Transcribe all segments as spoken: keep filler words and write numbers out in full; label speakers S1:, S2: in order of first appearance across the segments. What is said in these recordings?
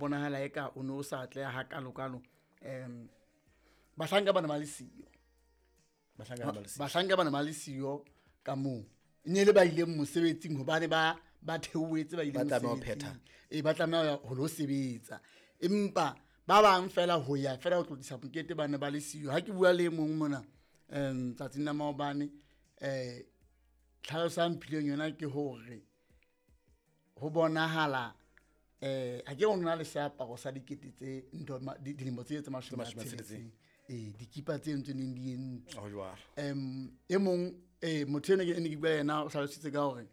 S1: Bonahala eka o ne o sa atleha hakalokalo. Um bahlanka bana ba le siyo.
S2: Bahlanka ba le siyo.
S1: Bahlanka bana ba le siyo ka moo. E ne le ba ileng mosebetsing hobane ba ba theohetse ba ile
S2: Ba tlameha ho
S1: mosebetsing.
S2: phetha.
S1: E ba tlameha ho lo sebetsa. Empa ba bang fela ho ya fela ho tlotlisa mokete ba ne ba le siyo. Ha ke bua le e mong mona um tsatsing la maobane, eh tlhaloso a mphileng yona ke hore ho bonahala eh ha ke o nna le seaparo sa dikete tse ntho ma-, di-, dilemo tse tse mashome a
S2: Mashome a
S1: tsheletseng.
S2: tsheletseng.
S1: Eh, dikipa tse ntse neng di entswe.
S2: Ho jwalo.
S1: Em, e mong, eh, motho ena ke ne ke bua le yena o hlalositse ka hore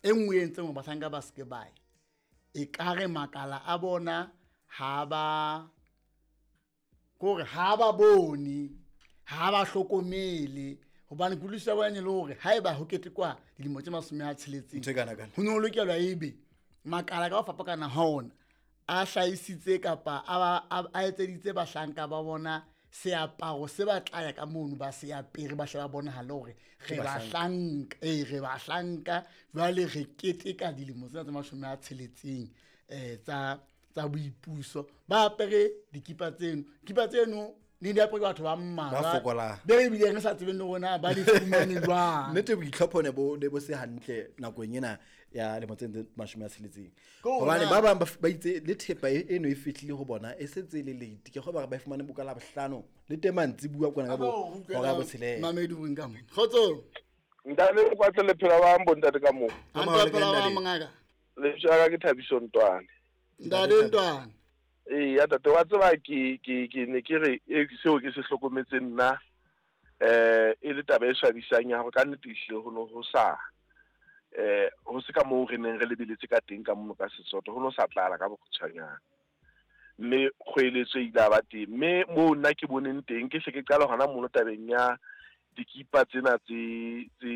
S1: e nngwe e entseng hore bahlanka ba se ke ba ya, e ka re makala a bona ha ba, kore ha ba bone, ha ba hlokomele. Hobane kutlwisiso ya bona e le hore haeba ho ketekwa dilemo tse mashome a tsheletseng,
S2: Ntho e kana kana.
S1: ho ne ho lokelwa ebe makala ka ho fapakana ha ona a hlahisitse kapa a ba, a, a etseditse bahlanka ba bona seaparo se ba tla ya ka mono ba se apere, ba hle ba bonahale hore re
S2: Ke bahlanka.
S1: bahlanka, eh, re bahlanka. Jwale re keteka dilemo tsena tse mashome a tsheletseng, eh, tsa, tsa boipuso. Ba apere dikipa tseno. Dikipa tseno ne di apere ke batho ba mmalwa.
S2: Ba fokolang.
S1: Be re bileng re sa tsebeng le rona ba di fumane jwang.
S2: Nnete boitlhopho ne bo, ne bo se hantle nakong ena ya lemo tse mashome a tsheletseng.
S1: Ke hore
S2: Hobane
S1: na
S2: ba bang ba f-, ba itse le thepa e, eno e fihlile ho bona e sentse e le late. Ke kgolwa hore ba e fumane boka la bohlano le teng mantsibuya kwana ka bo
S1: Abo, ho utlwela
S2: hora ya botshelela.
S1: Mamedi o reng ka mona? Kgotso.
S3: Ntate, o kwatle le phela ba bo ntate ka moo.
S1: Ha
S2: Ka maholo
S1: ntate phela
S2: ke
S1: ba
S2: ntate.
S1: mongaka.
S3: Lebitso la ka ke Thabiso Ntwane.
S1: Ntate Ntwane.
S3: Ee, ya tate, wa tseba ke, ke, ke ne ke re, e, seo ke se hlokometseng nna, eh, e le taba e swabisang ya hore ka nnete ehlile ho no ho sa, eh, ho se ka moo re neng re lebeletse ka teng ka mono ka Sesotho, ho no sa tlala ka bokgutshwanyane. Mme kgoeletso e ile ya ba teng. Mme moo nna ke boneng teng, ke hle ke qala hona mono tabeng ya dikipa tsena tse, tse,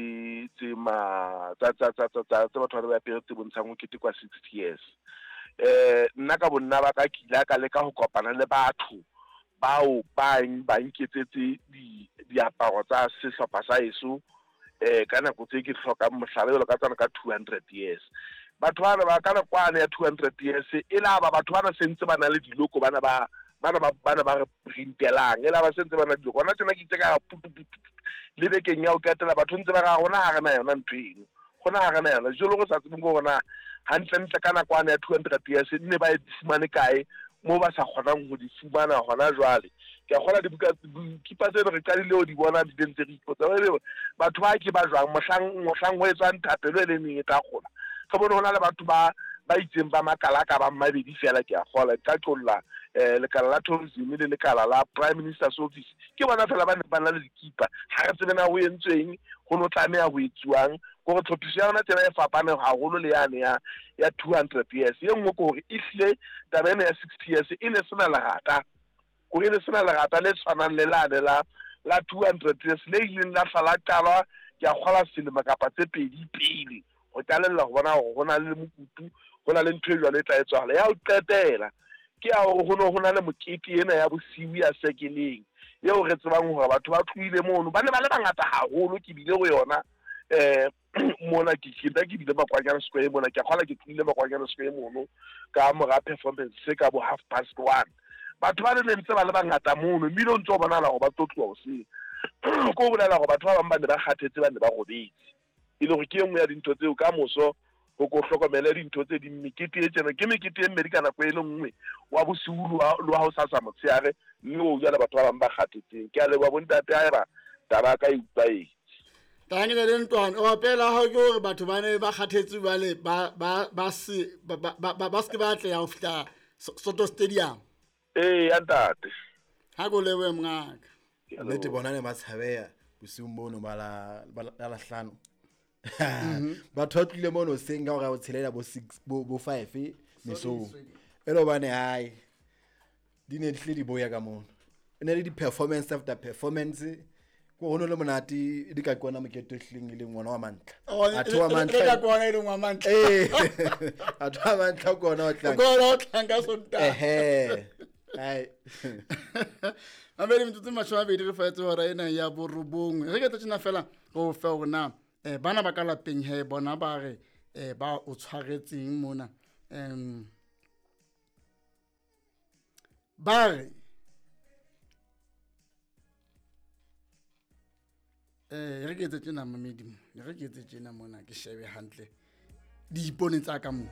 S3: tse ma, tsa, tsa, tsa, tsa, tsa, tse batho ba ba apere tse bontshang ho ketekwa sixty years. Eh, nna ka bonna ba ka ke ile ka leka ho kopana le batho bao ba n-, ba nketsetse di-, diaparo tsa sehlopha sa heso, eh, ka nako tse ke hlokang mohlala jwalo ka tsona ka two hundred years. Batho bana ba ka nako yane ya two hundred years, e la ba batho bana sentse ba na le diloko, bana ba, bana ba, bana ba re printelang, e la ba sentse ba na le diloko. Hona tjena ke itse ka putu, putu, putu, le bekeng ya ho qetela batho ntse ba re, rona ha re na yona ntho eno, rona ha re na yona. Jwalo re sa tsebeng hore na hantlentle ka nako yane ya two hundred years ne ba e fumane kae moo ba sa kgonang ho di fumana hona jwale. Ke a kgolwa dibuka, dikipa tseno re qadile ho di bona di ntse re ipotsa, ebe batho ba ke ba jwang mohlang, mohlang ho etswang thapelo e le neng e tla kgola. Re bone ho na le batho ba, ba itseng ba makala ka ba mabedi fela, ke a kgolwa. Ke ka qolla, eh, lekala la tourism le lekala la Prime Minister's Office. Ke bona fela ba neng ba na le dikipa. Ha re tsebe na ho entsweng, ho no tlameha ho etsuwang. Hore tlhophiso ya yona tsena e fapane haholo le yane ya, ya two hundred years. E nngwe ke hore ehlile taba ena ya sixty years e ne sena lerata. Hore e ne sena lerata le tshwanang le lane la, la two hundred years le ileng la hla la qalwa, ke a kgolwa selemo kapa tse pedi pele. Ho qalella ho bona hore ho na le mokutu, ho na le ntho e jwalo e tla etsahala. Ya ho qetela ke ya hore ho no ho na le mokete ena ya bosiu ya sekeleng eo re tsebang hore batho ba tlohile mono, ba ne ba le bangata haholo. Ke bile ho yona, eh, mona ke, ke nna ke bile Makwanyane Square mona, ke a kgolwa ke tlohile Makwanyane Square mono ka mora performance ka bo half past one. Batho ba ne ntse ba le bangata mono, mmino o ntse o bonahala hore ba tlo tloha hoseng. Ke ho bolela hore batho ba bang ba ne ba kgathetse, ba ne ba robetse. E le hore ke e nngwe ya dintho tseo ka moso ho ko hlokomele dintho tse ding. Mekete e tjena ke mekete e mmedi ka nako e le nngwe, wa bosiu le wa, le wa hosasa motshehare, mme o jwale batho ba bang ba kgathetseng. Ke a leboha bontate, haeba taba ya ka e utlwahetse.
S1: Tangile le Ntwane, o opela ha ke hore batho ba ne ba kgathetse jwale, ba, ba, ba se, ba, ba, ba, ba, ba se ke ba atleha ho fihla So-, Soto Stadium.
S3: Ee, ya ntate.
S1: Ha ko lebohe mongaka.
S3: Ke a
S2: Nnete
S3: leboha.
S2: bona ne ba tshabeha bosiung bono ba la, ba la, la hlano.
S1: Mm-hmm.
S2: Batho ba tlile mono hoseng ka hora ya botshelela bo six, bo, bo five mesong.
S1: Sorry, sorry.
S2: E le hobane hae di ne di hlile di boya ka mono. E ne le di-performance after performance. Ko ho no le monate, di ka kona mokete o hlileng e leng ngwana wa mantlha.
S1: Oh,
S2: A thoa
S1: e, e,
S2: mantlha.
S1: e ka kona e leng wa mantlha.
S2: Ee. A thoa mantlha kona o tlang.
S1: Kona o tlang ka Sontaha.
S2: Ehe. Ai.
S1: Mabedi metsotso e mashome a mabedi re faetse hora ena ya borobongwe. Re ke tla tjena fela go fe hore na, eh, bana ba ka lapeng he bona ba re, eh, ba o tshwaretseng mona. Em, Ba re eh re ke etse tjena mamedi mo, re ke etse tjena mona ke shebe hantle diipone tsa ka mo.